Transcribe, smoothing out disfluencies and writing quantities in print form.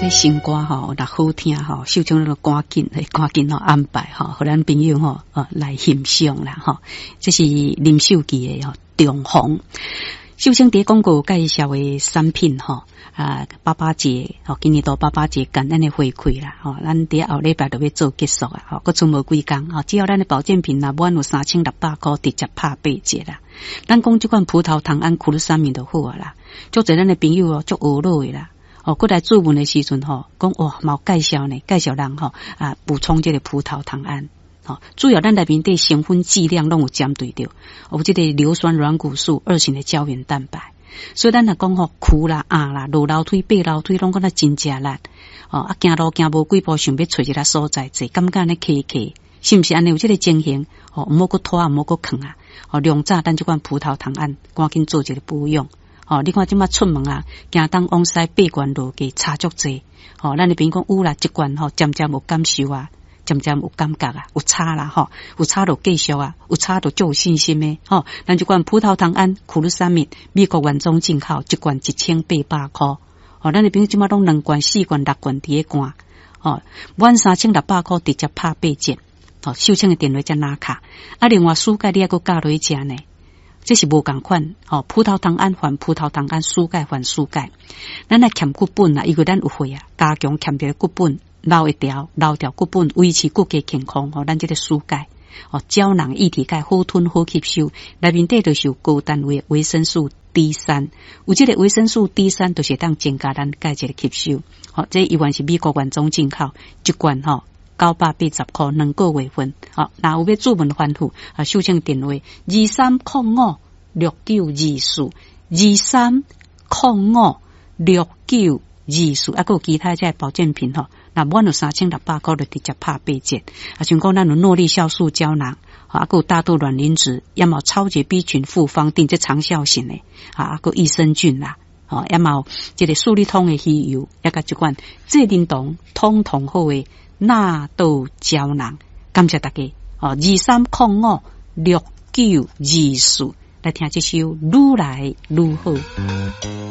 這新歌吼，若好聽吼，秀清就趕緊趕緊吼安排吼，予咱朋友吼哦來欣賞啦吼。這是林秀琪的吼《重逢》。秀清佇廣告介紹的產品吼，啊，爸爸節吼，今年度爸爸節感恩的回饋啦，吼，咱佇後禮拜就欲做結束啊，吼，閣賰無幾工，吼，只要咱的保健品若滿有3600箍，直接拍八折啦。咱講這款葡萄糖胺苦魯三明就好啊啦，足濟咱的朋友哦，足懊惱的啦。哦，閣來諮問的時陣吼，講哇，嘛有介紹呢，介紹人吼啊，補充這個葡萄糖胺。吼，主要咱內面底成分劑量攏有針對著，有這個硫酸軟骨素二型的膠原蛋白。所以咱若講吼，跍啦、壓啦、落樓梯、爬樓梯，攏感覺真食力。哦，啊，行路行無幾步，想欲揣一个所在坐，感覺按呢瞌瞌，是毋是按呢有這個情形？哦，毋好閣拖，毋好閣囥啊！哦，量早咱這款葡萄糖胺，趕緊做一個保養。哦，你看這馬出門啊，行東往西爬懸落低差足濟。哦，咱的朋友講有啦，這罐吼，漸漸有感受啊，漸漸有感覺啊，有差啦吼，有差就繼續啊，有差就足有信心的吼。咱這罐葡萄糖胺苦魯三敏，美國原裝進口，一罐1800箍。哦，咱的朋友這馬攏兩罐、四罐、六罐佇咧灌。哦，滿3600箍直接拍八折。哦，秀清的電話才拿卡。啊，另外蘇鈣你猶閣加落去食呢。這是無仝款，吼，葡萄糖胺還葡萄糖胺，蘇鈣還蘇鈣。咱來欠骨本啊，因為咱有會啊，加強欠著骨本，留會牢，留牢骨本，維持骨骼健康。吼，咱這個蘇鈣，哦，膠囊液體鈣好吞好吸收，內面底就是有高單位維生素 D 三，有這個維生素 D 三，就是會當增加咱鈣質的吸收。吼，這依然是美國原裝進口，一罐吼980箍2個月份。好，若有欲諮問番號，啊，秀清電話23056924，23056924，啊，閣有其他這保健品吼，若滿有3600箍就直接拍八折。啊，像講咱有諾麗酵素膠囊，啊，閣有大豆卵磷脂，也嘛有超級 B 群複方錠，這長效型的，啊，閣益生菌啦，吼，也嘛有這個舒利通的魚油，也佮這款濟啉糖通通好的納豆膠囊，感謝大家。哦，23056924，來聽這首《愈來愈好》。